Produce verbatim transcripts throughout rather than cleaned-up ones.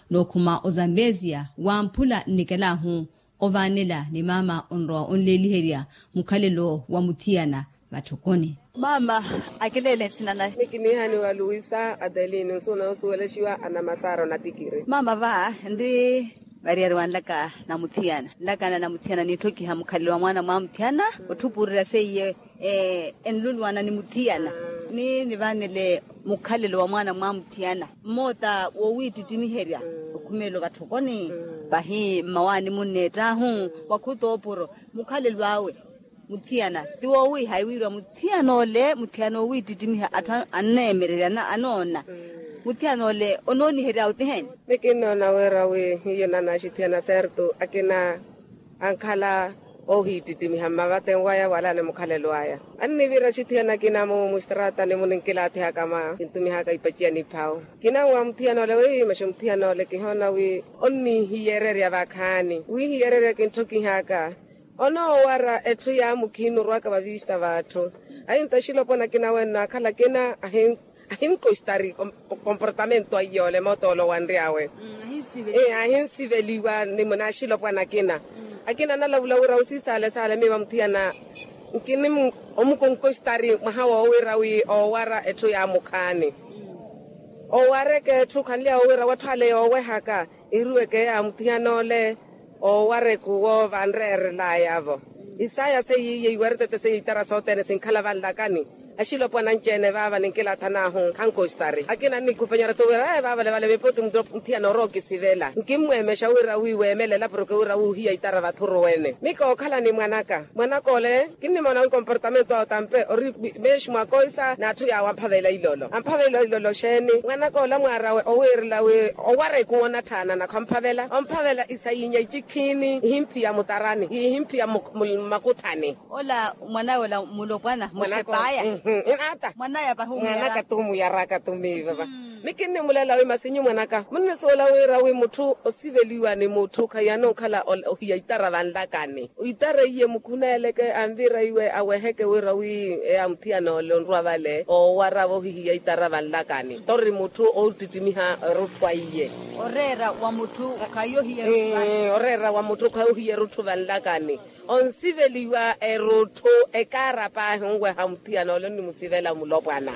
Nookhuma ozambezia wamphula nnikelahu ovaanela ni mama onrowa onleeliherya mukhalelo wa muthiyana. Vatthokoni. Mama, akileele nsina naye. Mikinihani wa luisa adeline nsuuna osuwelexiwa anamasaara onatikiri. Mama va nri variyari wanlaka na muthiyana nlakana na muthiyana niitthokiha mukhalelo wa mwaana mwa muthiyana otthupuurerya seiye enluluwana ni muthiyana ni nivaanele mukhalelo wa mwaana mwa muthiyana mmoota woowiittittimiherya okhumeelo vatthokoni vahi mmawaani munneettaahu wakhutooporo mukhalelo awe. Muthiyana ti woowiihayi wiiriwa muthiyana ole muthiyana owiittittimiha atthu anneemererya anoona muthiyana ole onoonihery'awe ti heni? Mikinnoona wira wi hiyo nanaxithiyana serto akina ankhala oohiittittimiha mmavaten waya wala ni mukhalelo aya. Annivira axithiyana akina mu mustraatani muninkilaatihaka mwa kintumihaka ipaciya niphawu kina wa muthiyana ole wiimaxe muthiyana ole kihoona wi onniihiyererya vakhaani wiihiyererya kintthukihaka. Onoowara etthu ya mukhiini orwaka vavista vatthu. Ainta axilopwana akina wenno akhala akina ahinkostari komportamento aiyole mootolo wanry'awe. Ahinsiveliwa ni munaaxilopwana akina akina analavula wira wi siisaale saale miiva muthiyana nkini omukonkostari mwaha woowira wi oowara etthu ya mukhaani. Owareke etthu khanly'awe wira watthu ale yoowehaka iruweke ya muthiyana ole. Owareku wo vanreerelaya-vo isaya seiye iweretete seiye itara sothene sinkhala vanlakani. Axilopwana anci-ene vaava ninkilaathan'ahu khankostari akina annikupanyara-tho wira vaavale vale miputi muthiyana orookisivela nkimmweemexa wira wi weemele elapuruke wira wuuhiya itara vathuruwene mi kookhala ni mwanaka mwanaka ole. Kinnimoona wi komportamento awe tampe ori meexi mwakoisa n'atthu yaawe amphavela ilolo amphavela ilolo xeeni mwanaka ola mwaarawe owiirela wi owara ekuwo onatthaana nakho amphavela omphavela isayinya icikhiini ihimphiya mutarani ihimphiya mmakuthani. Ola mwanawe ola mulopwana muxepaya. Inaata mwanaya pahi omuyaraka. Mwanaka tumuyaraka tumiivava mi kinnimulela wi masinyu mwanaka munnisuwela wiira wi mutthu osiveliwa ni mutthu khaiyana onkhala ohiya itara vanlakani. Itara iye mukhuneeleke anvira iwe aweheke wira wi eya muthiyana ole onrwa vale oowara vohihiya itara vanlakani tori mutthu oottittimiha erutthu aiye. Oreera wa mutthu khayohiya erutthu vanlakani. Onsiveliwa erutthu ekaara paahi onweha muthiyana ole onnimusivela mulopwana.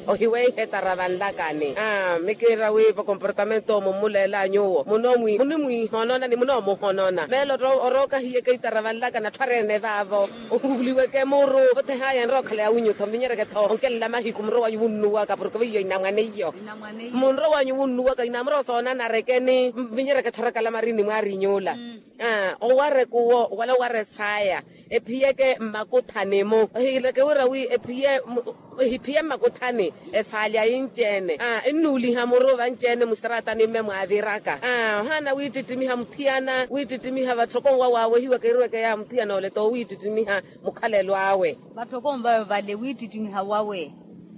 Ohiweiha etara vanlakani mi kiira wi vakomportamento mummulelanyuwo munimwihonona ni munoomuhonona velo orookahiyeke itara vanlakani atthu areene vaavo ohuliweke muru othehaya enrookhala ya winyu-tho mvinyereke-tho onkelela mahiku munrowanyu wunnuwaka porke veiyo inamwaneiyo munrowanyu wunnuwaka inamuro soonanarekeni mvinyereke-tho orakala marini mwaariny'ula. Owareke owo wala owara esaya ephiyeke mmakuthani-mu ohiileke wira wi ephiye ehiphiye mmakuthani efaali ayinci-ene ennuuliha muru vanci-ene mustratani mme mwaaviraka ohaana wiittittimiha muthiyana wiittittimiha vatthoko nwa waawehiwaka eruweke ya muthiyana ole t'owiittittimiha mukhalelo awe. Vatthoko nvawe vale wiittittimiha wawe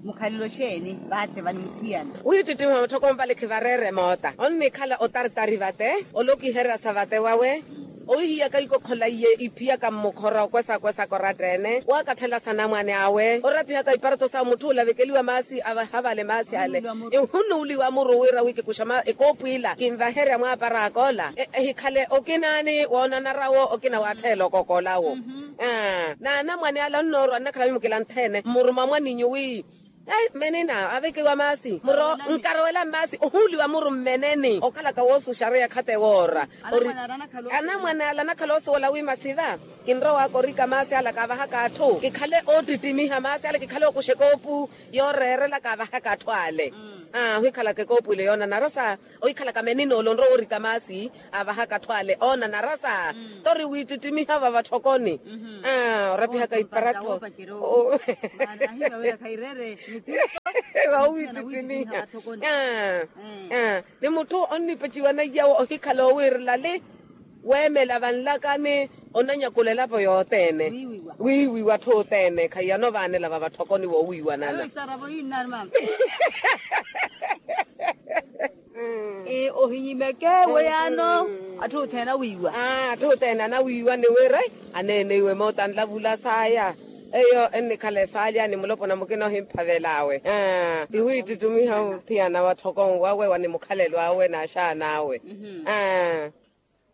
mukhalelo xeeni vaathe vani muthiyana. Wiittittimiha vatthoko nvale khivareere moota onnikhala otartari vate olokiherya sa vate wawe. Owihiyaka ikokhola iye iphiyaka mmukhora okwesa-kwesaka oratta-ene waakatthela sanamwane awe orapihaka iparato sa mutthu olavekeliwa maasi avaha vale maasi ale ihunuuliwa muru wira wi kikuxa ekoopu ila kinvaherya mwaaparaka ola ehikhale okinaani woonanarawo okina waattheela okokolawo. Naanamwane ala onnoorwa nnakhala mimukila nthene mmuruma mwaninyu wi menina avekiwa maasi muro nkarowela mmaasi ohuuliwa muru mmeneni okhalaka woosuxareya khatte woora. Anamwane ala anakhala osuwela wi masiva kinrowaka orika maasi ala kaavahaka atthu kikhale oottittimiha maasi ala kikhale okuxa ekoopu yooreerela kaavahaka atthu ale ohikhalaka ekoopu ile yoonanara sa ohikhalaka menina ole onrowa orika maasi avahaka atthu ale oonanara sa tori wiittittimiha vavatthokoni orapihaka iparattho. Wawiittittimiha ni mutthu onnipeciwa naiyawo ohikhala owiirela li weemela vanlakani onanyakula elapo yothene wiiwiwa atthu othene khaiyana ovaanela vavatthokoni woowiiwanana. Ohinyimeke weyaano atthu othene awiiwa atthu othene anawiiwa ni wira aneene iwe moota anlavula saaya Eyo ennikhala efaalya ni mulopona mukina ohimphavel'awe. Ti wiittittimiha othiyana wa tthoko nwawe wa ni mukhalelo awe n'axaan'awe.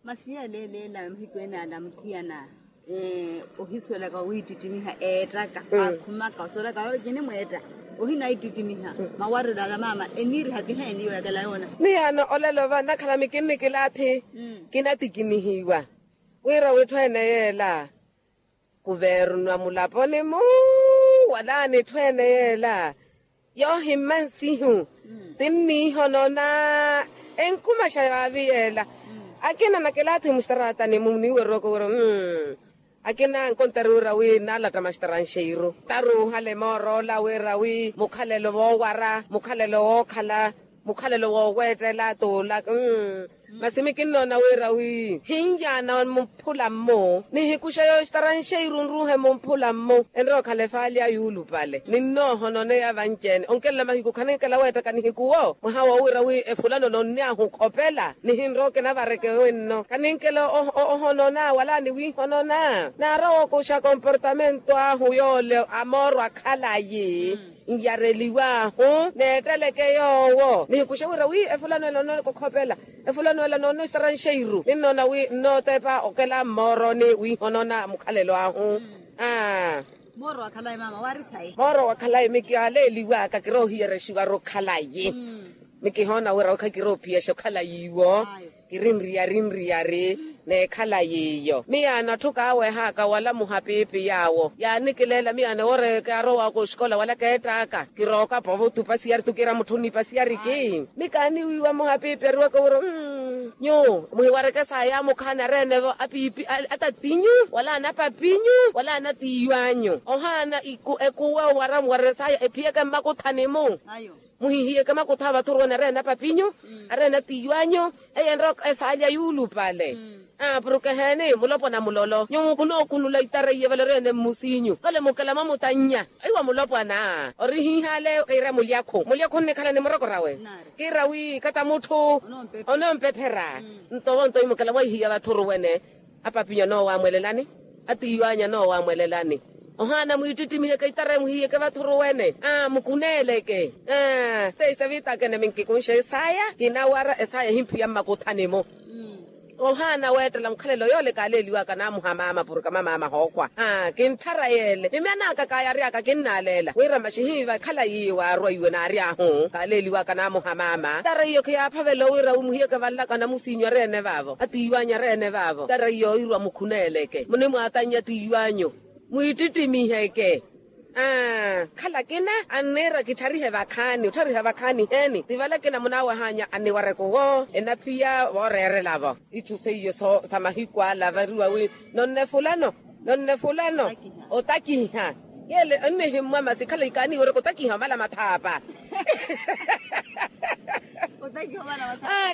Masi yaleeleela mahiku ene ala muthiyana, ohisuwelaka wiittittimiha eettaka aakhumaka osuwelaka vaava cinimweetta. Ohinaittittimiha mawarelo ala maama eniiriha ti heeni yooyakela yoona. Miyaano olelo va nnakhalami kinnikilaathi. Kinatikinihiwa wira witthu ene yeela kuvernwa mulaponi-mu wala n'itthu ene yeela yoohimma nsihu. Tinniihonona enkumaxa yaavi yeela akina nakilaathi muxtaraatani-mu niiwerowaka wira akina nkontari wira wi naalatta maxtaranxeiru taruuhale moor'ola wira wi mukhalelo woowara mukhalelo wookhala mukhalelo wooweettela t'ula. Masi mikinnoona wira wi hinyaana mumphula-mmu nihikuxe yooxtaranxeiru nruuhe mumphula-mmu enrookhala efaalya yuulupale ninnoohononeya vanci-ene onkelela mahiku khaninkela weettaka nihikuwo mwaha woowira wi efulano nonny'ahu okhopela nihinrookena vareke wenno khaninkela ohonona wala niwiihonona naarowa okuxa komportamento ahu yoole amoorwa khalayi nyareliw'ahu neetteleke yoowo nihikuxe wira wi efulano ela nooneka okhopela efulano ela nooneka ostaranxeiru ninnoona wi nnootepa okela mmooroni wiihonona mukhalelo ahu. Mooro wa khalayi miki aleeliw'aka kiroohiyerexiwaru khalayi mikihoona wira wi khakiroophiyesha okhalayi iwo kiri nriyari nriyari n'ekhalayi iyo miyaano atthu kaaweh'aka wala muhapiipi yaawo yaanikileela miyaano ewooreke arowaaka oxikola wala keett'aka kirooka povo tupa siyari tukiira mutthu nnipa siyari ki mikaaniwiiwa muhapiipi ariwaka wira nyuwo muhiwareke saaya amukhaani areene-vo apiipi atatinyu wala anapapinyu wala anatiiwanyu ohaana ekuwa owara muwarere saaya ephiyeke mmakuthani-mu muhihiyeke makuttha a vathuru wene areene apapinyu areene atiiwanyu eyo enroka efaalya yuulupale. Porke heeni mulopwana mulolo nyuwo munookhunula itara iye vale oreene mmusiinyu vale mukela mwamutannya aiwa mulopwana ori hiihale kiira mulyakhu mulyakhu onnikhala ni murokorawe kiira wi kata mutthu onoompepherya nto vonto imukela mwaihiya vathuru wene apapinyu anoowamwelelani atiiwanyu anoowamwelelani ohaana mwiittittimihe keitara emuhiyeke vathuru wene aa mukuneeleke aa teisa viitakene minkikunxe esaya kinawara esaya ehimphiya mmakuthani-mu ohaana weettela mukhalelo yoole kaaleeliwaka naamuha maama porke mamaama hookhwa aa kintthara yeele mimyan'aka kaayary'aka kinnaaleela wira maxi hiiva khalayi waarwa iwe naary'ahu kaaleeliwaka naamuha maama tara iyo khiyaaphavela owira wimuhiyeke vanlaka namusiinyu areene vaavo atiiwanyu areene vaavo tara iyo oirwa mukhuneeleke munimwaatannya tiiwanyu mwiittittimihe-ke aa khala kina anniira kittharihe vakhaani otthariha vakhaani heeni ti vale kina munaawahanya anniwareke owo enaphiya vooreerela-vo itthu seiyo sa mahiku ala variwa wi nonne fulano nonne fulano otakiha yeele onnihimmwa masi khala ikaaniiwereke otakiha omala mathaapa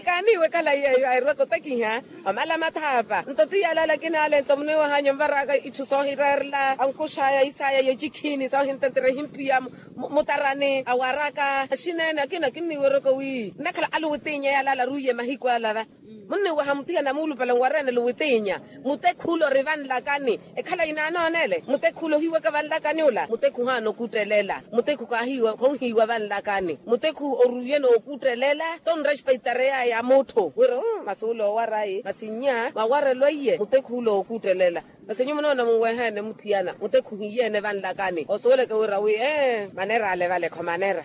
kaaniiwe khala yeeyo airweke otakiha omala mathaapa nto ti yalala kinaale nto muniwahanya onvaraka itthu soohireerela ankuxaya isaya yocikhiini soohintentera ehimpiya mutarani awaraka axineene akina kinniweroko wi nnakhala aluwitiinya yalala ruiye mahiku alava munniwaha muthiyana muulupale nwareene luwitiinya mutekhu ula ori vanlakani ekhala inaanoonele mutekhu ula ohiwaka vanlakani ula mutekhu ohaana okuttelela mutekhu kaahiiwa khouhiiwa vanlakani mutekhu oruiye nookuttelela tonrespeitareyaya mutthu wira masi ula owarayi masi nnya mwawarelwa iye mutekhu ula ookuttelela masi nyu munoona munweheene muthiyana mutekhu ohiiyeene vanlakani osuweleke wira wi ee manera ale vale kho manera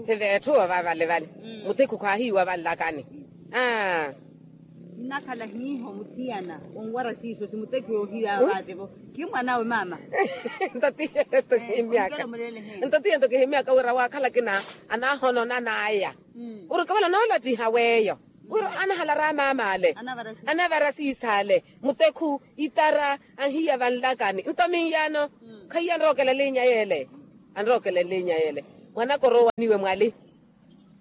ti veetthu ova vale vale mutekhu khaahiiwa vanlakani aa nnakhala hiiho muthiyana onwara siiso simutekhu yoohiya vaate-vo khimwanawe maama nto tiye nto kihimyaka wira waakhala kina anaahononan'aya wira okavala noolattiha weeyo wira anahalara maama ale anavara siisa ale mutekhu itara anhiya vanlakani nto minyaano khaiya anrookela elinya yeele anrookela elinya yeele mwanaka orowaniwe mwali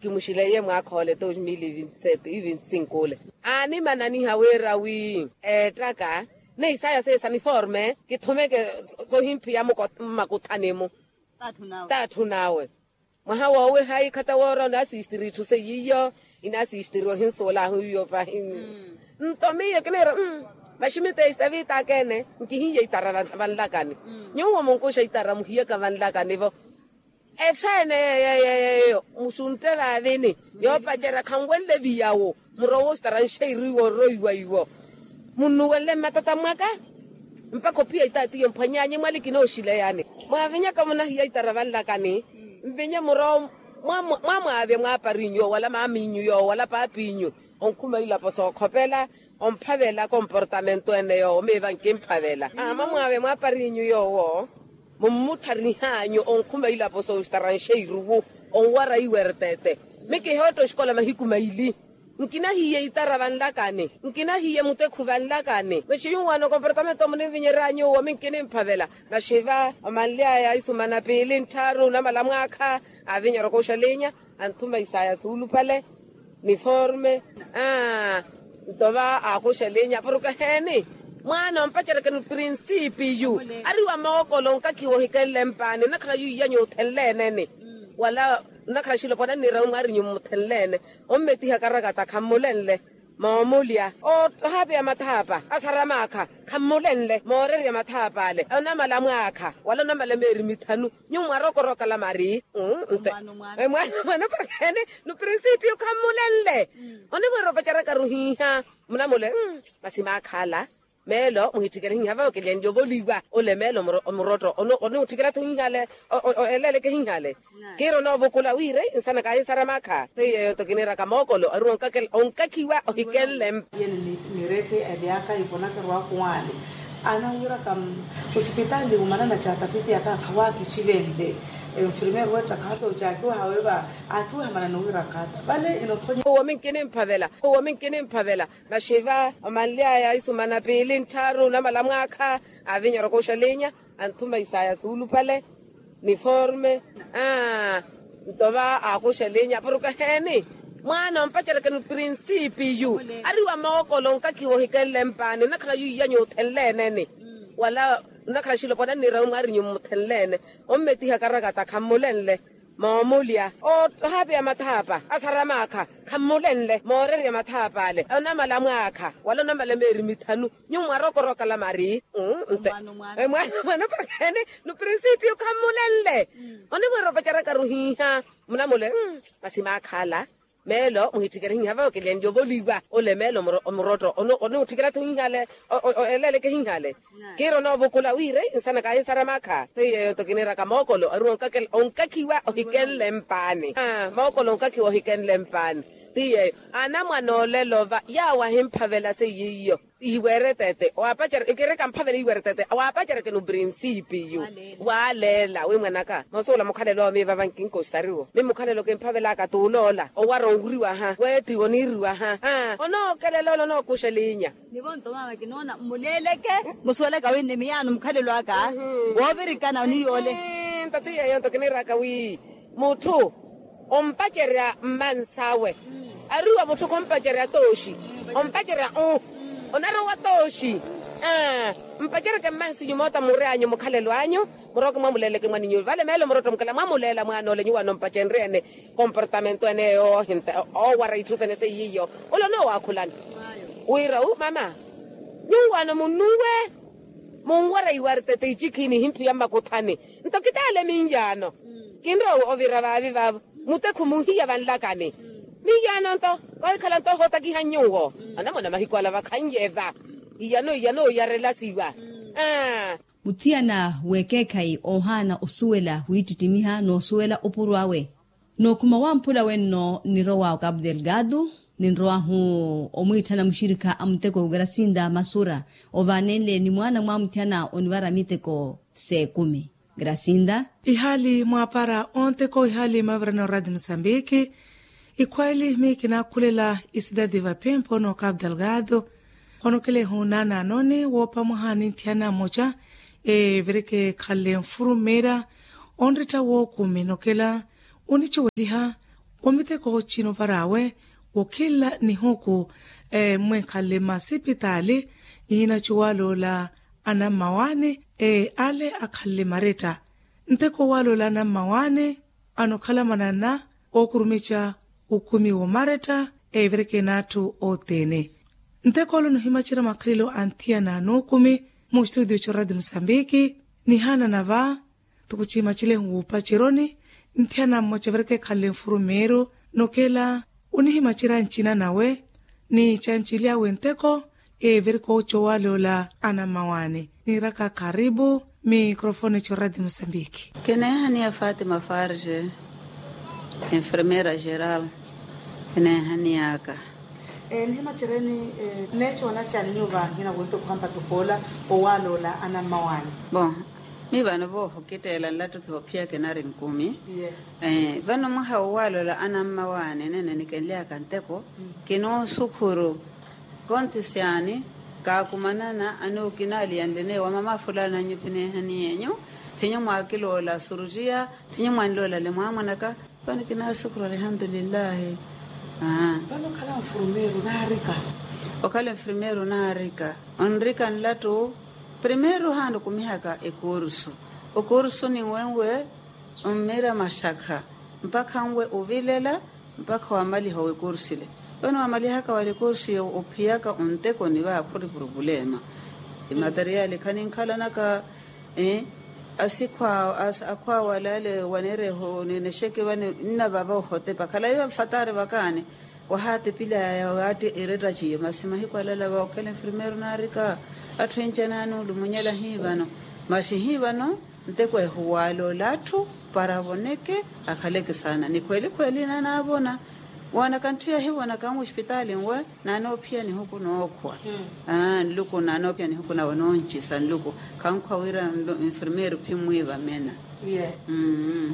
kimuxileiye mwaakha ole dos mil e vinte sete e vinte cinco ole aanimananiha wira wi eettaka neisaya seesa niforme kithumeke sohimpiya mmakuthani-mu t'atthu nawe mwaha woowiha ikhata woora onaasistiri itthu seiyo inaasistiri ohinsuwela ahu iyo pahi nto miyo kiniira Maximita esitavita akeene nkihiiya itara vanlakani. Nyuwo munkuxa itara muhiyaka vanlakani-vo. Esaene yeyo musuntte vaavini yoopacerya khanwenle viyawo. Murowo ositara nxeiru iwo orroiwa iwo. Munnuwenle mmatata mwaka mpakha ophiya itaatiyo mphwanyaanyi mwali kinooxileyani. Mwaavinyaka munahiya itara vanlakani. Mvinye murowo mwamwaavya mwaaparinyu yoowo wala maaminyu yoowo wala paapinyu. Onkhuma ilapo sookhopela omphavela komportamento ene yoowo miiva nkimphavela. Mwamwaavya mwaaparinyu yoowo mummuttharih'anyu onkhuma ilapo soositaranxe iruwu onwara iwertete. Mi kihootta oxikola mahiku maili. Nkinahiye itara vanlakani. Nkinahiye mutekhu vanlakani maxi yunwaana okomportamento munimvinyery'anyu owo mi nkinimphavela. Maxi va omanly'aya isumana piili nttharu namala mwaakha. Avinyerya okooxalinya anthuma isaya suulupale niforme. Aa nto va aakuxelinya porke heeni mwaana ompaceryakeni oprinsipiyu. Ari wa mookolo onkakhiwa ohikenle mpaani nnakhala yu iyanyu othenleene-ni wala nnakhala xilopwana nniirawi mwaarinyu mmuthenleene. Ommetiha karakata khammulenle moomulya ohapeya mathaapa asara maakha khammulenle moorerya mathaapa ale onamala mwaakha wala onamala meeri mithanu. Nyuwo mwarokorokala mari nte mwaana mwaana porkeni nuprinsipiyu khammulenle. Onimweerya opacerya karuhiiha munamule masi maakhala meelo muhitthikele hiiha vawe kilenle ovoliwa ole meelo omurotto onutthikela-tho hiihale. Eleeleke hiihale kiira onoovukula wira nsana kaahinsara maakha seiyo yeyo nto kiniiraka mookolo ari onkakhiwa ohikenle mpa. Yene nirette elyaka ivonakeru akuwaani anawiraka osipitaali omanana caatafiti yaka akhawaakicivenle. Enfirmeeri wetta khaata ocaakiwaha weeva aakiwaha manana owira khaata vale inotthonya. Owo mi nkinimphavela owo mi nkinimphavela. Maxi va omanly'aya isumana piili nttharu namala mwaakha. Avinyerya okooxalinya anthuma isaya suulupale niforme. Aa nto va aakuxelinya porke heeni mwaana ompaceryakeni oprinsipiyu. Ari wa mookolo onkakhiwa ohikenle mpaani nnakhala yu iyanyu othenleene-ni wala nnakhala xilopwana nniirawi mwaarinyu mmuthenleene. Ommetiha karakata khammulenle moomulya ohapeya mathaapa asara maakha khammulenle moorerya mathaapa ale onamala mwaakha wala onamala meeri mithanu. Nyuwo mwarokorokala mari nte mwaana mwaana porkeni nuprinsipiyu khammulenle. Onimweerya opacerya karuhiiha munamule masi maakhala meelo muhitthikele hiiha vawe kilenle ovoliwa ole meelo omurotto onutthikela-tho hiihale. Eleeleke hiihale kiira onoovukula wira nsana kaahinsara maakha seiyo yeyo nto kiniiraka mookolo ari onkakhiwa ohikenle mpaani. Mookolo onkakhiwa ohikenle mpaani ti yeyo anamwane olelo va yaawo ahimphavela seiyo iyo iweretete waapacerya ikirika mphavela iweretete waapaceryakeni oprinsipiyu. Waaleela wi mwanaka noosuwela mukhalelo owo miiva vankinkositariwo mi mukhalelo kimphavelaka t'uloola owara onriwaha weettiwa oniiriwaha. Onookelela ole onookuxelinya. Nivo nto maama kinoona mmuleeleke musuwelaka wi ni miyaano mukhalelo aka woovirikana oniyoole. Nto ti yeyo nto kiniiraka wi mutthu ompacerya mmans'awe ari wa mutthu khompacerya tooxi ompacerya u onarowa tooxi. Mpaceryeke mmansi nyumoota muryanyu mukhalelo anyu muroke mwamuleeleke mwaninyu vale meelo murotto mukhala mwamuleela mwaana ole nyuwo anompacenrye-ene. Komportamento ene yoohinta oowara itthu sene seiyiyo ole onoowakhulani wira u mama nyuwo ano munnuwe munwara iwartete icikhini himphiya mmakuthani. Nto kitaale minyaano kinrowa ovira vaavi vaavo mutekhu muhiya vanlakani. Minyaano nto koohikhala nto ohootakiha nyuwo anamwana mahiku ala vakhannyeva iyano iyano oyarelasiwa. Muthiyana w'ekeekhayi oohaana osuwela wiittittimiha n'usuwela opuro awe. N'ukhuma wamphula wenno nnirowa okapu delgado ninrowahu omwiitthana muxirikha a muteko grasinda masura. Ovaanenle ni mwaana mwa muthiyana onivara miteko s'ekumi grasinda. Ihaali mwaapara onteko ihaali mavirana oradi musambiki. Ikhweeli miyo kinaakhulela isidadi vapempo n'okapu delgado. Onokelehu naanaanoni woopamwaha ni nthiyana mmoca evireke ekhanle nfurumira onritta wookumi nokela onicuweliha omiteko cino varaawe wokhinla nihuku. Mwenkhanle mmasipitaali ihinacuwaloola anammawaani ale akhanle maretta nteko owaloola anammawaani anokhala manana ookurumica ukhumi woomaretta evireke n'atthu othene. Ntek'ole onihimacerya makhalelo a nthiyana a nuukumi, mu studio c'oradi musambiki nihaana na va tukucihimaceleni wuupaceroni. Nthiyana mmoca evirika ekhanle nfurumiiru, nokela onihimacerya ncina nawe ni cancilyawe nteko evirika ocoowaloola anammawaani. Niiraka karipu mikrofoni c'oradi musambiki. Kineehaniya fatima farge, enfermeira geral. Kineehaniyaka. Nihimacereni neecoona cani nyuva nkina wonti okuhampa tukoola owaaloola anammawaani? Bon, mi vano voohokitteela nlattu kihophiyaka enari nkumi. Vano mwaha owaaloola anammawaani nene nikenlyaka nteko, kinoosukhuru konti syaani kaakumanana anuukinaliyanlene wamama fulani anyupinehaniyenyu, thinyu mwaakiloola surutiya, thinyu mwanloola le mwaamwanaka. Vano kinaasukhura alihamdulillahi. Vano okhala nfurumeeru naarika? Okhala nfurumeeru naarika, onrika nlattu primeeru haana okumihaka ekursu. Okursu ninwenwe, mmiira maxakha mpakha nwe ovilela mpakha wamaliha owekursu ile. Vano wamalihaka wali ekursu iyo ophiyaka onteko ni vaaphuri purupulema. Imateriyali khaninkhalanaka. Asikhwa akhwa wala ale waneereho ninexeke vano nnavava ohotepa khalayi vafatari vakaani. Wahaatepilaya waatti eretta ciyo masi mahiku alala va okhela enfirmeeru naarika atthu enca naanulumunyela hii vano. Masi hii vano nteko ehuwaloola atthu para avoneke akhaleke saana ni khweli khweli naanaavona. Woonaka ntthu yahivonaka nwe ospitaali nwe naanoophiya nihuku nookhwa. Nluku naanoophiya nihuku nawe nooncisa nluku. Khankhwa wira nfirmeeru phimmwiiva mena.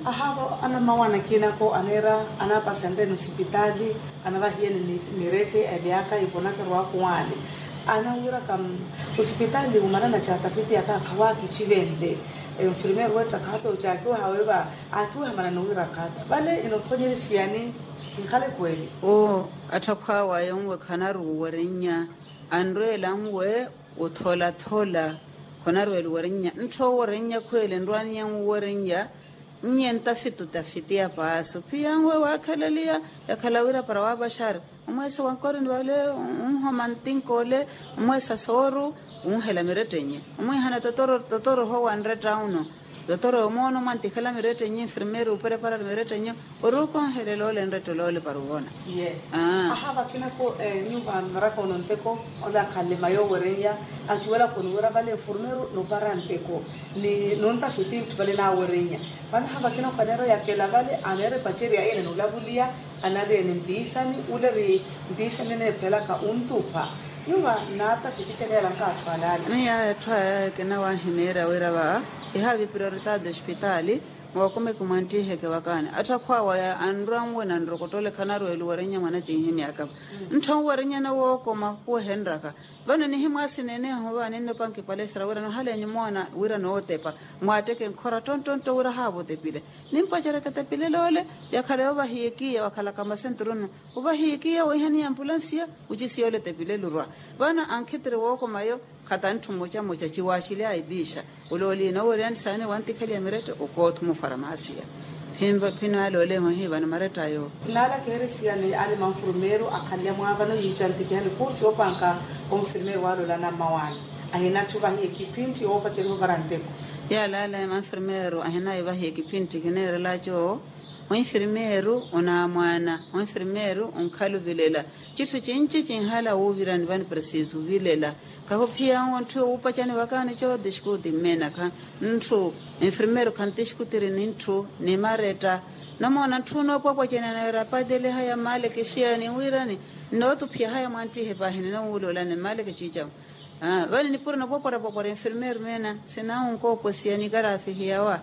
Ahaavo anammawaani akinako aneera anaapasenreni osipitaali anavahiyeni mirette evyaka ivonaka erwaku waani. Anawiraka osipitaali omanana caatafiti yaka khawaakicivenle. Enfirmeeru wetta khaata ocakiwaha weeva aakiweha manani owira khaata vale inothonyerisiya ni nkhaleko eli. Oo atthu akhwaawayo nwe khanaruuwerennya anrweela nwe otholathola. Khonarweela owerennya ntthu owerennya khweeli nrwaaniya nwe owerennya. Nnye ntafiti otafiti ya paasi ophiya nwe waakhalaliya yakhala wira para waapaxari omweesa wa nkorini vale onhoma ntinka ole omweesa sooru onhela mirettenye omwihana totoro totoro ohowa nretta uno. Totoro omoono mwantikhala mirettenye enfirmeeri opreparari mirettenye ori okonhelela ole nretta ole ole para ovona. Ahaa vakinako nyuva mmaraka ono nteko ole akhanle mayo owerennya acuwelaka oniwira vale enfirmeeri novara nteko ni nontafiti ntthu vale naawerennya. Vano ahaa vakinako aneera oyakela vale aneera epacerya iyene noolavuliya anariyene mpiisani ule ri mpiisani eneephelaka ontupha. Nyuva naatafiti caneyala nkaatthu alaala. Miyo aya atthu aya kinawahimeerya wira va ihavi prioritaati ospitaali. Mookumi kimwanttiheke vakaani atthu akhwaawaya anrwa nwe nanrokotole khanarweela owerennya mwana cinhimyaka. Ntthu anwerennyana wookoma khuwehenryaka. Vano nihimwaasi neneeho vaani nnopanki palestra wira nohalenyu moona wira nootepa mwaatteke nkhora ttonttontto wira haava otepile. Nimpacereke etepilelo ole yakhala yoovahiyekiya wakhalaka masenturunu. Ovahiyekiya woihaniya ampulansiya ocisiya ole etepilelo orwa. Vano ankhitiri wookomayo khata ntthu mmocamoca ciwaaxilyaya epiixa. Ole oliina oweryani saani wantikhaliya mirette okoothuma ofaramasiya. Phino ale oleeho hiivano maretta ayo. Naala kiheresiyani ale manfurumeeru akhanle mwaavano yiicantikihani kursi yoopanka onfirumeeru waaloola anammawaani. Ahina atthu vahiya ekiphintti yoopaceriha ovara nteko. Yaala ale manfirumeeru ahinaye vahiya ekiphintti kineerelaco. Onfirumeeru onaamwaana onfirumeeru onkhala ovilela. Citthu cinci cinhala wuuvirani vano presiso ovilela. Kahuphiya nwe ntthu yoowupacani vakaani cooti xikuti mmenakha ntthu. Enfirmeeru khanti xikutiri ni ntthu ni maretta. Nomoona ntthu noopwapwacani aneera apateliha ya mmaleke xiyani wirani. Nnootuphiya haya mwanttihe paahi ninoowuloolani mmaleke ciicamu. Vale nipuro nopwapwara pwapwara enfirmeeru meena sinawunkoopwesiya ni karafihiyawa.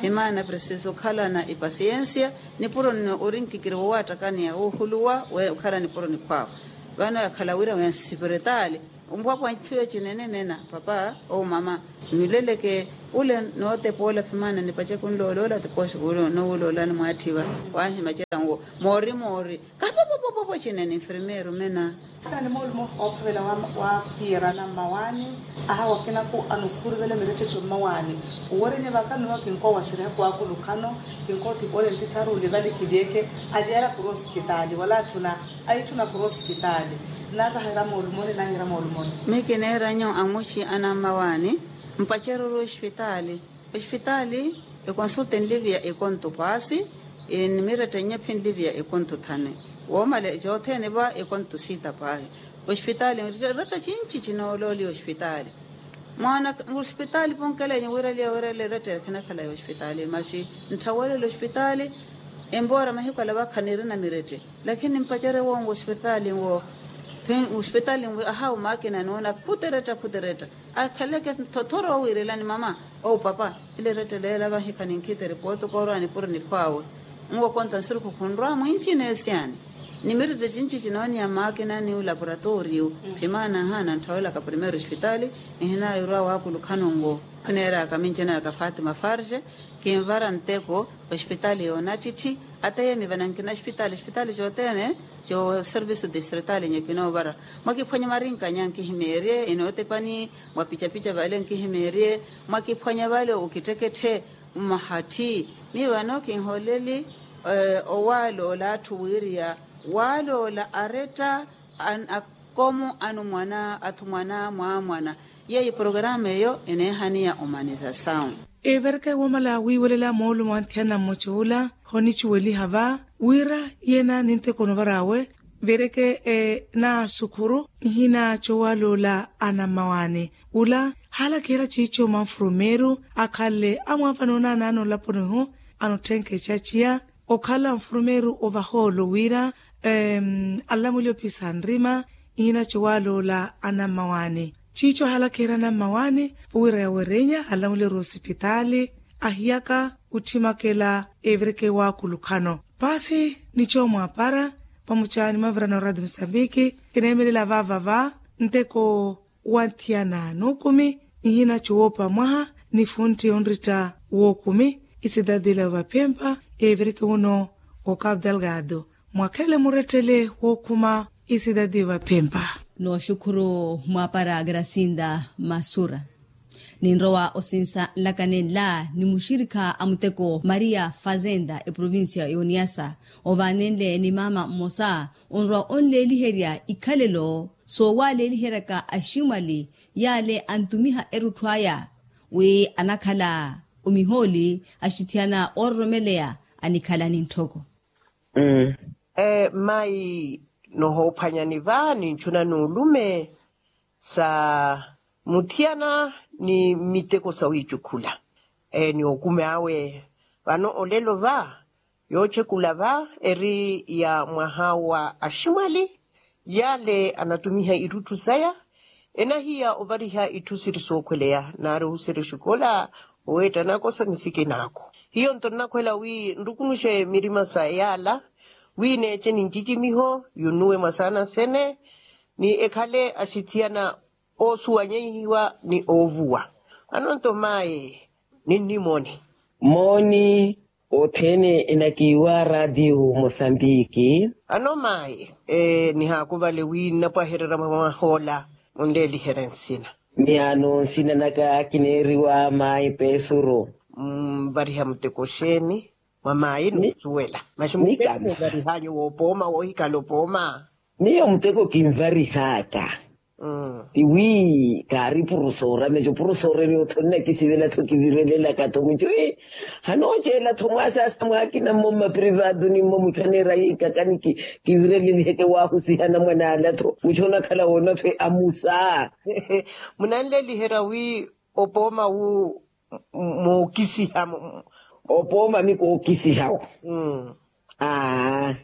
Himaana presiso okhalana epasiyensiya. Nipuro nno ori nkikiri wowaattakaniya woohuluwa. Okhala nipuro nikhwaawe. Vano yakhala wira wensipiritali. Ompwapwa ntthu yocinene meena papa ou mama. Mileleke Ule nootepoola phimaana nipace kunloola ole atipooxe kuule noowuloolani mwaatthi va. Waahimacera nwo moori moori. Kapopopopopo cine ni nfirmeeru mena. Kana ni moolumo oophavela wa piirana mmawaani. Aha wakinaku anukhuruvela mirettettho mmawaani. Owereni vaka nnuwa kinkoowaseriha kwaakulukha-no. Kinkoothipa ole ntitharu olivali kilyeke. Aliyara khuri osipitaali wala atthuna. Aitthuna khuri osipitaali. Nnaavaha iramoolumoni naahi iramoolumoni. Miyo kineeranyu amuxi anammawaani. Mpaceruru ospitaali. Ospitaali ekonsulta enliviya ekontu paasi. Enimiretta nnyo phi enliviya ekontu thane. Woomale cothene va ekontu siita paahi. Ospitaali eretta cinci cinoolooliya ospitaali. Mwaana ospitaali ponkelenyu wiraliya wiraliya eretta khinakhala ya ospitaali maxi. Ntthawelela ospitaali. Empoora mahiku ala vakha nirina mirette. Lakini mpacerye woowo ospitaali nwo. Ospitaali nwo ahawu maakina nuuna khuteretta khuteretta. Akhaleke thothoro owiirelani mama. Ou papa. Ile eretta leela vahikha ninkhiteri pootuka orwa nipuro nikhwaawe. Nwo konta nsurukhu khunrwa mwincina esiyani. Nimirette cinci cinooniya maakina ni olaporatooriyu. Phimaana ahaana nthawelaka primeiro ospitaali. Nihinaayi orwa waakulukhano nwo. Khineeraka mincinaka fatima farge. Kinvara nteko ospitaali yoonattitti. Ateyemi vanankina ospitaali ospitaali cothene. Co service distritaali nyo kinoovara. Mwakiphwanya marinka nya nkihimeerye inootepani. Mwapicapica vale nkihimeerye. Mwakiphwanya vale okitteketthe. Mmahatthi. Miyo vano kinhooleli. Owaaloola atthu wiiriya waaloola aretta. Akomo anumwana athumwana mwaamwana. Yeeyo porokaramu eyo eneehaniya omanizasawu. Evereke woomala wiiwelela moolumo wa nthiyana mmoca ola honicuweliha va wira yeena ninteko onovar'awe. Vereke naasukhuru nihina cowaloola anammawaani. Ula haalakiherya ciico manfurumeeru akhalle amwaavana onaanaana olaponihu. Anotthenke ecaciya okhala nfurumeeru ovahoolo wira anlamwile opisa nrima. Ihina cowaloola anammawaani ciico ahaalakiherya anammawaani. Vo wira yawerenya alamwile ori osipitaali ahiyaka. Otthimakela evereke waakulukhano paasi ni coomwaapara. Pamuca ni mavirana oradio musambiki kineemelela vaavava nteko wa nthiyana n'ukumi. Nihina cowoopa mwaha ni funtti onritta wookumi. Isidadi ila ovaphempa evereke wuno wo cabo delgado. Mwakhelele murettele wookhuma isidadi ovaphempa. Nooxukhuru mwaapara gracinda masura. Ninrowa osinsa nlaka nenla ni muxirikha a muteko maria fazenda eprovincia y'oniasa. Ovaanenle ni maama mmosa onrowa onleeliherya ikhalelo soowaleeliheryaka aximwali yaale antumiha erutthu aya wi anakhala omihooli axithiyana oororomeleya anikhala ni ntthoko. Mmayi nohoophwanyani va ninchuna n'ulume sa muthiyana ni miteko sawiicukhula ni okume awe. Vano olelo va yoochekula va eri ya mwaha wa aximwali yaale anatumiha irutthu saya enahiya ovariha itthu siri sookhweleya naari ohuserya oxikola oweetta nakoso ni sikinaako. Hiyo nto nnakhwela wi nrukunuxe mirima sa yaala wi neece ni ncicimiho yunnuwe mwasaana sene ni ekhale axithiyana oosuwanyehiwa ni oovuwa. Ano nto mayi ninnimooni mooni othene enakiiwa radio mosambiki. Ano mayi nihaakuvale wi nnapwahererya mwamwahoola munleeliherye nsina. Miyaano nsina naka kineeriwa mayi pesuro. Mvariha muteko xeeni mwa mayi noosuwela maxi muteko ovarihanyu woopooma woohikhala opooma. Miyo muteko kinvarihaka tiwi kaari purusoora meco purusoora eri otho nnakisivela-tho kivirelelaka-tho muco. Hanooceela-tho mwaaxaaxa mwaakina mmo mmaprivado ni mmo muco aneera yiikaka ni kivireleliheke waahusiha anamwane ala-tho muco onakhala woona-tho amusa. Munanleeliherya wi opooma wu mookisiha. Opooma mi kookisiha-wo. Aa.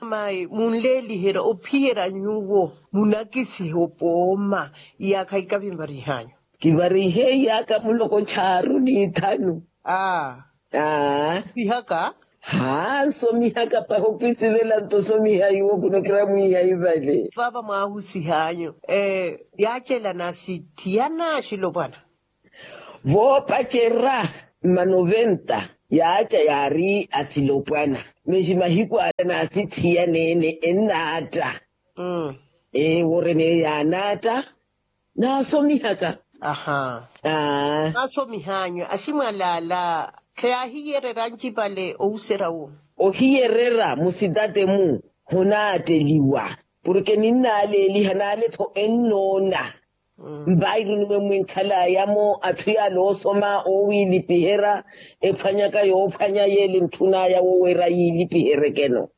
Mayi munleeliherya ophiyerya nyuwo munakisiha opooma iyaakha ikavi nvarihanyu. Kivarihe iyaakha muloko chaaru ni ithanu. Aa. Aa. Nsomihaka. Haa nsomihaka pahi okisivela nto osomiha iwo kuno kiramwiiha ivale. Vaava mwaahusihanyu yaacelana sithiyana axilopwana. Voopacerya mma noventa yaaca yaari asilopwana. Masi mahiku ala naasithiyaneene ennaatta. Ewo orene yaanaatta. Naasomihaka. Aa. Naasomihanyu aximwalaala kheyaahiyeererya ancipale ohusery'awo. Ohiyeererya musitate-mu honaatteliwa. Porke ninnaaleeliha naale-tho ennoona. Mpairu nimwemwe nkhalaya-mo atthu yaale oosoma oowiilipiherya ephwanyaka yoophwanya yeele ntthunaya woweera yiilipiheryeke-no.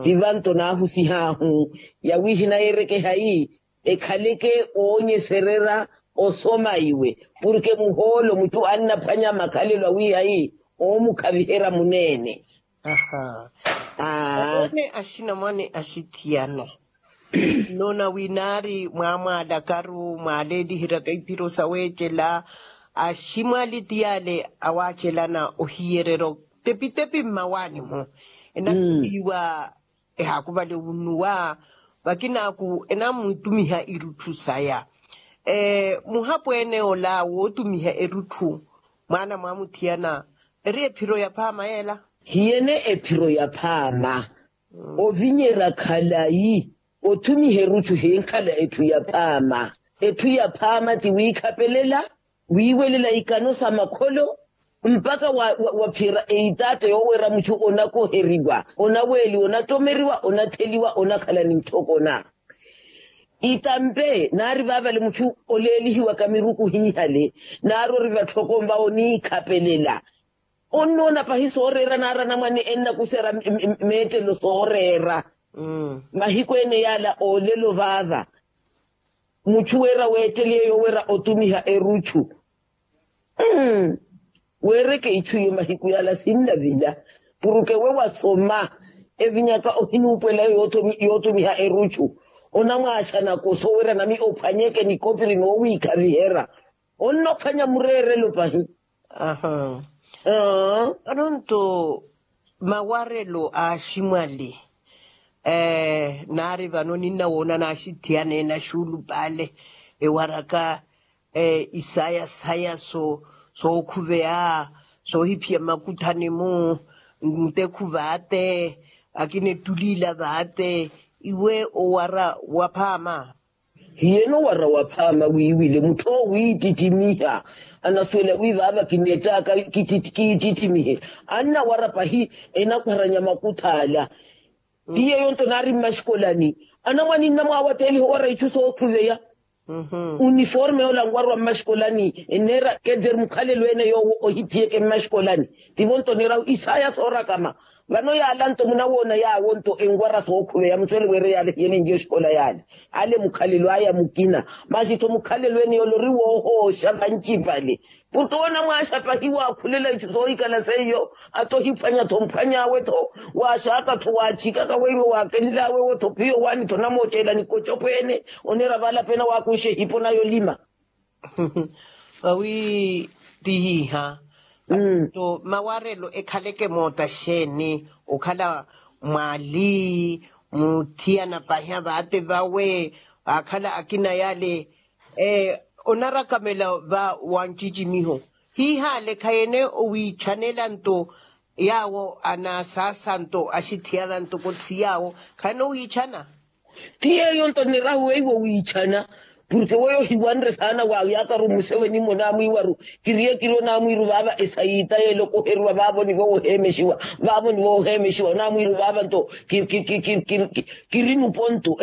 Ti vanto naahusih'ahu yawiihina yeerekehayi ekhaleke oonyesererya osoma iwe. Porke muhoolo muchu annaphwanya makhalelo awiihayi oomukhaviherya muneene. Aa. Oone axinamwane axithiyana. Nnoona wi naari mwaamwaalakaru mwaaleeliheryaka iphiro saweecela aximwali ti yaale awaacelana ohiyereryo tepitepi mmawaani-mo. Enakhupiwa ehaakuvale onnuwa vakinaaku enamwitumiha irutthu saya. Muhapweene ola wootumiha erutthu mwaana mwaamuthiyana eri ephiro yaphaama yeela? Hiyene ephiro yaphaama. Ovinyerya khalayi. Othumiha erutthu hinkhala etthu yaphaama. Etthu yaphaama ti wiikhapelela wiiwelela ikano sa makholo mpakha waphiyerya eitaatta yooweera muchu onakoheriwa onaweeliwa onattomeriwa onatheliwa onakhala ni ntthokona. Itampe naari vaavale muchu oleelihiwaka miruku hiihale naari ori vatthoko mvawo niikhapelela. Onnoona pahi sooreera naari anamwane ennakuserya meettelo sooreera. Mahiku ene yaala oolelo vaava muchu weera weetteliye yooweera otumiha eruchu. Weereke ichu iyo mahiku yaala sinnavila. Puruke we wasoma evinyaka ohinuupwela yootumiha eruchu onamwaaxanaka osoowerya nami ophwanyeke nikopiri noowiikhaviherya. Onnophwanya mureerelo pahi. Vano nto mawarelo a aximwali naari vano ninnawoona naaxithiyaneene axuulupale ewaraka isayasaya sookhuveya soohiphiya mmakuthani-mu. Mutekhu vaate akina ettuliila vaate iwe owara waphaama. Hiyeno wara waphaama wiiwile mutthu owo wiittittimiha anasuwela wi vaava kineettaka kiittittimihe. Annawara pahi enakharanya makuthaala. Ti yeeyo nto naari mmaxikolani anamwane nnamwaawateeliha owara ichu sookhuveya. Uniforme yoola nwarwa mmaxikolani enneera kedzeri mukhalelo ene yoowo ohiphiyeke mmaxikolani. Tivo nto oneerahu isaya soorakama. Vano yaala nto munawoona yaawo nto enwara sookhuveya musuwele weere yaale hiyelenje oxikola yaale. Ale mukhalelo aya mukina masi tho mukhalelo ene yoole ori woohooxa vancipale. Puto onamwaaxa pahi waakhulela ichu soohikhala seiyo. Ata ohiphwanya tho mphwany'awe tho waaxaka tho waachikaka weiwo waakenl'awe wo tho phiyo waani tho onamooceela nikocopo ene. Oneera vaala pena waakuxa ehipo naya olima. Vawi tihiha. Nto mawarelo ekhaleke moota xeeni okhala mwaali muthiyana pahi avaate vawe akhala akina yale. Onarakamela va wancicimiho hiihaale khayene owiichanela nto yaawo anaasaasa nto axithiyana ntoko thi yaawo khayene owiichana. Ti yeeyo nto nirahu weiwo wiichana. Purke weyo hiwanre saana waayaakaru museweni-mo naamwiiwaru kiriye kiriyo naamwiiru vaava esayiita yeela okoheriwa vaavo nivo woheemexiwa. Vaavo nivo woheemexiwa naamwiiru vaava nto kiri nupo nto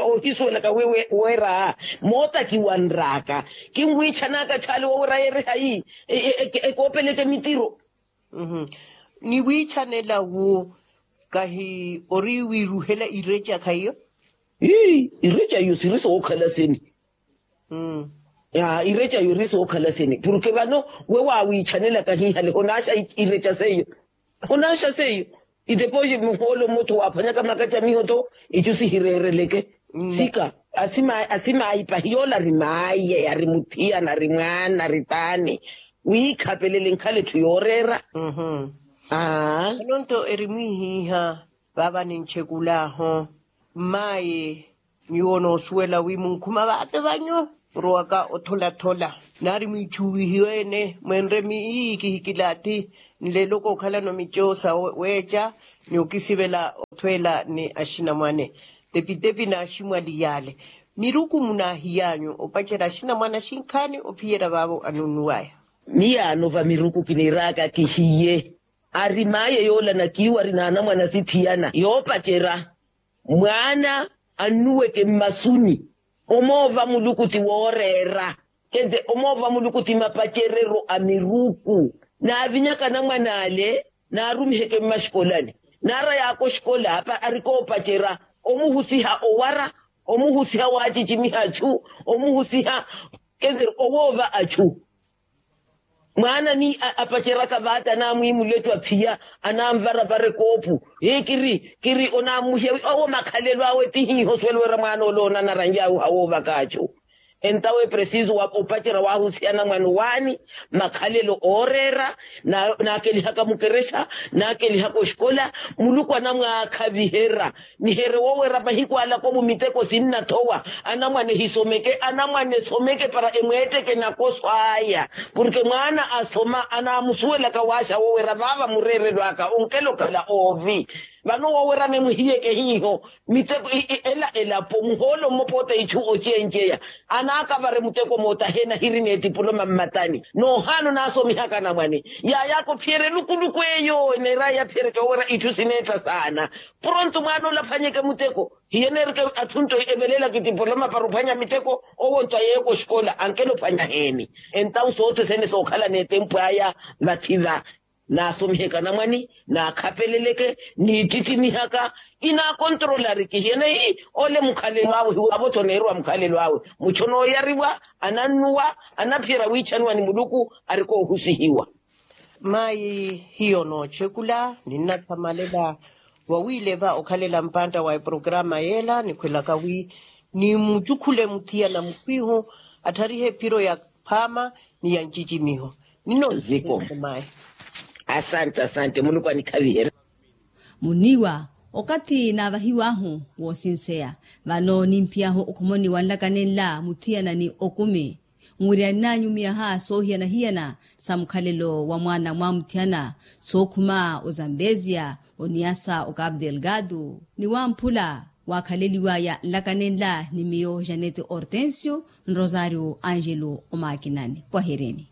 ohisuwelaka weera moota kiwanr'aka. Kinwiichan'aka thaali woowira yeerihayi ekoopeleke mitiro. Ni wiichanela wu kahi ori wiiruhela ireca khaiyo. Ireca iyo siri sookhala seni. Ireca iyo eri sookhala seni purke vano we waawiichanelaka hiihale honaaxa ireca seiyo. Honaaxa seiyo. Itepoxi muhoolo mmottho waaphwanyaka makacamiho tho ichu sihireereleke. Sika asimaayi pahi yoola ari maayi ari muthiyana ari mwaana ari paani. Wiikhapelele nkhala etthu yooreera. Aa. Vano nto eri mwiihiiha vaava ninchekul'ahu. Mmaayi nyuwo onoosuwela wi munkhuma vaate vanyu murowaka otholathola. Naari mwiichuwihiwe-ene mwenre miiyi kihikilaathi nleelo kookhalano mico sa weeca ni okisivela othweela ni axinamwane. Tepitepi naaximwali yaale miruku munaahiyaanyu opacerya axinamwane axinkhaani ophiyerya vaavo anunnuwaya. Miyaano va miruku kiniiraaka kihiye ari maye yoola nakiiwari n'anamwane asithiyana yoopacerya mwaana annuweke mmasuni. Omoova muluku ti wooreera kente omoova muluku ti mapacereryo a miruku. Naavinyaka anamwane ale naarumiheke mmaxikolani naara yaaka oxikola arikoopacerya omuhusiha owara omuhusiha waacicimiha achu omuhusiha kente owoova achu. Mwaana ni apaceraka vaata anamwiimula etu aphiya anamvaravara ekoopu. Hii kiri kiri onammuhiya wi owo makhalelo awe ti hiiho osuwela wira mwaana ole oona anaranjaawe ohawoovaka achu. Entawe preciso opacerya waahusihana mwaana owaani makhalelo ooreera. Naakelihaka mukerexa naakelihaka oxikola muluku anamwaakhaviherya. Nihere wowera mahiku alaka omu miteko sinnathowa anamwane hisomeke anamwane esomeke para emweetteke nakoso aya. Porke mwaana asoma anamusuwelaka waaxa wowera vaava mureerelo aka onkela okhala oovi. Vano wowera nemuhiyeke hiiho miteko ela elapo muhoolo mmopoota ichu ocenceya anaakavare muteko mootahe nahirina etipuloma mmatani. Noohaana onaasomihaka anamwane yaayaka ophiyerya elukuluku eyo eneeraya yaphiyeryeke wowera ichu sineetta saana. Pronto mwaana ole aphwanyeke muteko hiyeneereke atthunto evelelaka etipoloma para ophwanya miteko owo nto ayeeyaka oxikola ankela ophwanya heeni. Entawu soothesene sookhalana etempu aya vathi va naasomiheke anamwane naakhapeleleke niittittimihaka. Inaakontrolariki hiyeneyi ole mukhalelo awe hiwaavo-tho oneeriwa mukhalelo awe mucho nooyariwa anannuwa anaphiyerya wiichaniwa ni muluku arikoohusihiwa. Mayi hiyo noochekula ninnathamalela wawiileva okhalela mpantta wa eprograma yeela nikhwelaka wi nimucukhule muthiyana mukhwihu attharihe ephiro ya phaama ni ya ncicimiho. Ninno ziko mayi. Asante asante muluku anikhaviherye. Muniiwa okathi naavahiw'ahu woosinseya vano nimphiyahu okhomoni wa nlaka nenla muthiyana ni okumi nwiryan'anyu miyaha soohiyana-hiyana sa mukhalelo wa mwaana mwamuthiyana sookhuma ozambezia oniyasa okapu delgado ni wamphula waakhaleliwaya nlaka nenla ni miyo janete hortensio nrosario angelo omaakinani pwahirini.